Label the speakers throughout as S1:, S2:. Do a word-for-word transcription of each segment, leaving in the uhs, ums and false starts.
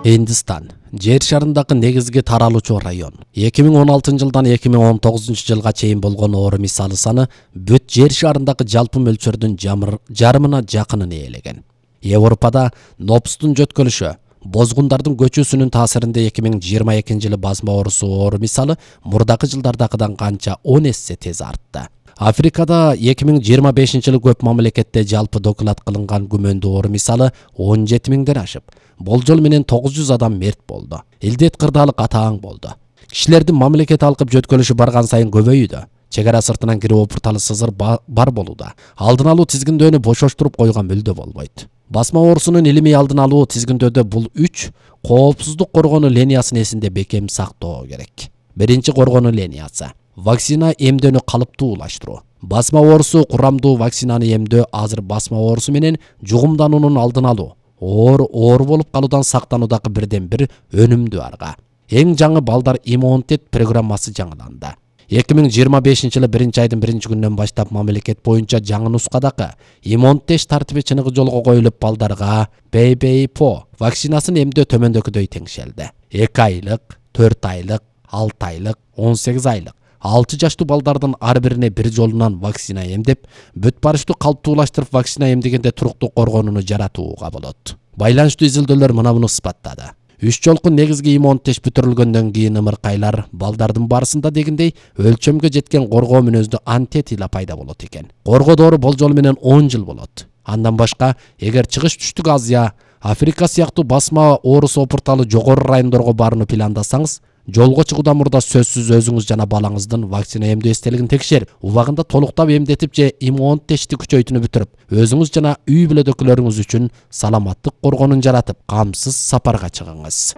S1: Hindistan жер шарындагы негизги таралуучу район. эки миң он алтынчы жылдан эки миң он тогузунчу жылга чейин болгон оору мисалы саны бүт жер шарындагы жалпы мөлчөрдүн жарымына жакынын ээлеген. Европада нопстун жөткөлүшү, бозгундардын көчүүсүнүн таасиринде эки миң жыйырма экинчи жылы басма оорусу оору мисалы мурдакы жылдардагыдан канча он эсе тез артты. Африкада эки миң жыйырма бешинчи жылы көп мамлекетте жалпы доклад кылынган күмөндүү оору мисалы он жети миңден ашып, болжол менен тогуз жүз адам мерт болду. Илдет кырдаалык атаң болду. Кишилердин мамлекет алкып жөткөлүшү барган сайын көбөйүүдө. Чек ара сыртынан кирип опурталы сызыр бар болууда. Алдын алуу тизгиндөөнү бошоштуруп койгон мүлдө болбойт. Басма оорусунун илимий алдын алуу тизгиндөөдө бул үч коопсуздук коргонуу линиясын эсинде бекем сактоо керек. Биринчи коргонуу линиясы вакцина эмдөөнү калыптуулаштыруу. Басма оорусу курамдуу вакцинаны эмдөө азыр басма оорусу менен жугумдануунун алдын алуу, оор оор болуп калуудан сактануудагы бирден бир өнүмдүү арга. Эң жаңы балдар иммунитет программасы жаңыланды. эки миң жыйырма бешинчи жылы биринчи айдын биринчи күнүнөн баштап мамлекет боюнча жаңы нускадагы иммунитет тартиби чыныгы жолго коюлуп балдарга Б Б И П вакцинасын эмдөө төмөндөгүдөй теңшелди. эки айлык, төрт айлык, алты айлык, он сегиз айлык, алты жаштуу балдардын ар бирине бир жолунан вакцина эмдеп, бүт барыштуу калыптуулаштырып вакцина эмдегенде туруктуу коргонууну жаратууга болот. Байланыштуу изилдөөлөр мына муну ысбаттады. Үч жолку негизги иммунитет бүтүрүлгөндөн кийин ымыркайлар балдардын барысында дегендей өлчөмгө жеткен коргоо мүнөздүү антитила пайда болот экен. Коргоо доору болжол менен он жыл болот. Андан башка, эгер чыгыш түштүк Азия, Африка сыяктуу басма оорусу опурталы жогору райондорго барууну пландасаңыз, жолго чыгуудан мурда сөзсүз өзүңүз жана балаңыздын вакцина эмдөө эстелигин текшерип, убагында толуктап эмдетип же иммунитетти күчөйтүүнү бүтүрүп, өзүңүз жана үй бүлөдөгүлөрүңүз үчүн саламаттык коргонун жаратып, камсыз сапарга чыгыңыз.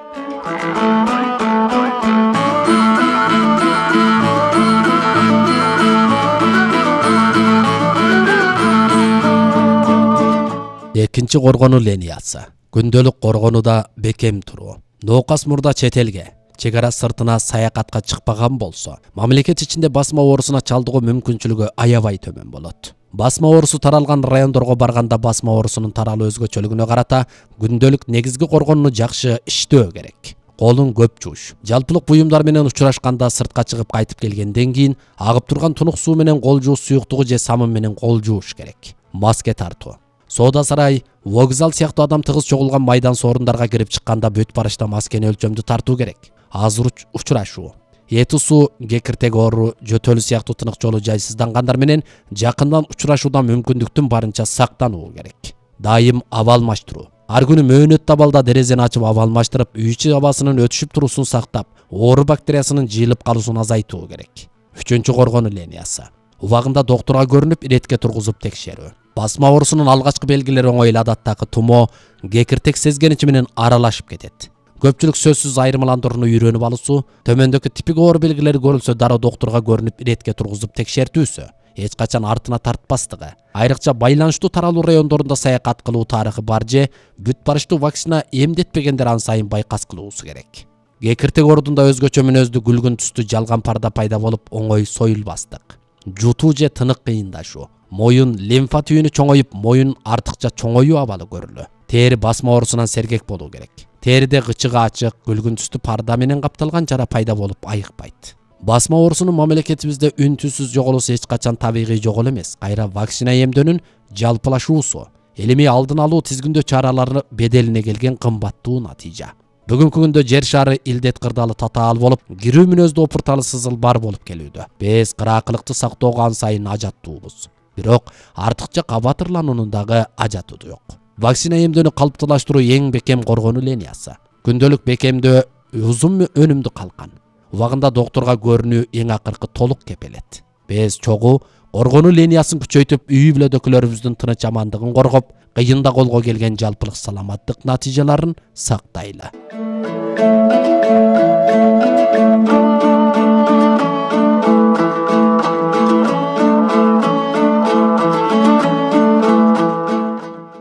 S1: Экинчи коргонуу линиясы күндөлүк коргонууда бекем туруу. Ноокас мурда чет элге, чек ара сыртына саякатка чыкпаган болсо, мамлекет ичинде басма оорусуна чалдыгуу мүмкүнчүлүгү аябай төмөн болот. Басма оорусу таралган райондорго барганда басма оорусунун таралуу өзгөчөлүгүнө карата күндөлүк негизги коргонууну жакшы иштөө керек. Колун көп жууш. Жалпылык буюмдар менен учурашканда сыртка чыгып кайтып келгенден кийин агып турган тунук суу менен кол жууш суюктугу же самын менен кол жууш керек. Маска тартуу. Соода сарай, вокзал сыяктуу адам тыгыз чогулган майдан соорундарга кирип чыкканда бүт барышта маскени өлчөмдүү тартуу керек. Аз учурашуу. Эти суу, кекиртек оору, жөтөлү сыяктуу тынык жолу жайсыздангандар менен жакындан учурашуудан мүмкүндүктүн барынча сактануу керек. Дайым аба алмаштыруу. Ар күнү мөөнөт абалда дерезени ачып аба алмаштырып, үй ичи абасынын өтүшүп туруусун сактап, оору бактериясынын жыйылып калуусун азайтуу керек. Үчүнчү коргонуу линиясы убагында доктурга көрүнүп, иретке тургузуп текшерүү. Басма оорусунун алгачкы белгилери оңой эле адаттагы тумо, кекиртек сезгеничи менен аралашып кетет. Көпчүлүк сөзсүз айырмаландырууну үйрөнүп алуусу, төмөндөгү типик оору белгилери көрүлсө дароо доктурга көрүнүп, иретке тургузуп текшертүүсү, эч качан артына тартпастыгы, айрыкча байланыштуу таралуу райондорунда саякат кылуу тарыхы бар же бүт барыштуу вакцина эмдетпегендер ан сайын байкас кылуусу керек. Кекиртек оорудунда өзгөчө мүнөздүү күлгүн түстүү жалган парда пайда болуп, оңой союлбастык. Жутуу же тынык кыйындашуу. Моюн лимфа түйүнү чоңоюп, моюн артыкча чоңоюу абалы көрүлүү. Тери басма оорусунан сергек болуу керек. Териде гычыгы ачык, күлгүн түстүү парда менен капталган жара пайда болуп айыкпайт. Басма оорусунун мамлекетибизде үн түнсүз жоголуусу эч качан табигый жогол эмес. Кайра вакцина эмдөөнүн жалпылашуусу, илимий алдын алуу тизгиндөө чаралары беделине келген кымбаттуу натыйжа. Бүгүнкү күндө жер шары илдет кырдаалы татаал болуп, кирүү мүнөздүү опурталы сызыл бар болуп келүүдө. Биз кыраакылыкты сактоого ан сайын ажаттуубуз. Бирок артыкча кабатырлануунун дагы ажаты жок. Вакцина эмдөөнү калыптуулаштыруу эң бекем коргонуу линиясы. Күндөлүк бекемдөө узун өнүмдүү калкан. Убагында доктурга көрүнүү эң акыркы толук кепелет. Биз чогуу коргонуу линиясын күчөйтүп, үй бүлөдөгүлөрүбүздүн тыныч амандыгын коргоп, кыйында колго келген жалпылык саламаттык натыйжаларын сактайлы.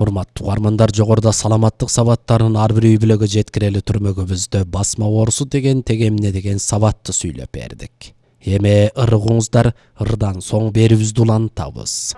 S1: Урматтуу угармандар, жогоруда саламаттык сабаттарын ар бир үй бүлөгө жеткирели түрмөгүбүздө басма оорусу деген теге эмне деген сабатты сүйлөп бердик. Эми ырыгыңыздар, ырдан соң берүүбүздү улантабыз.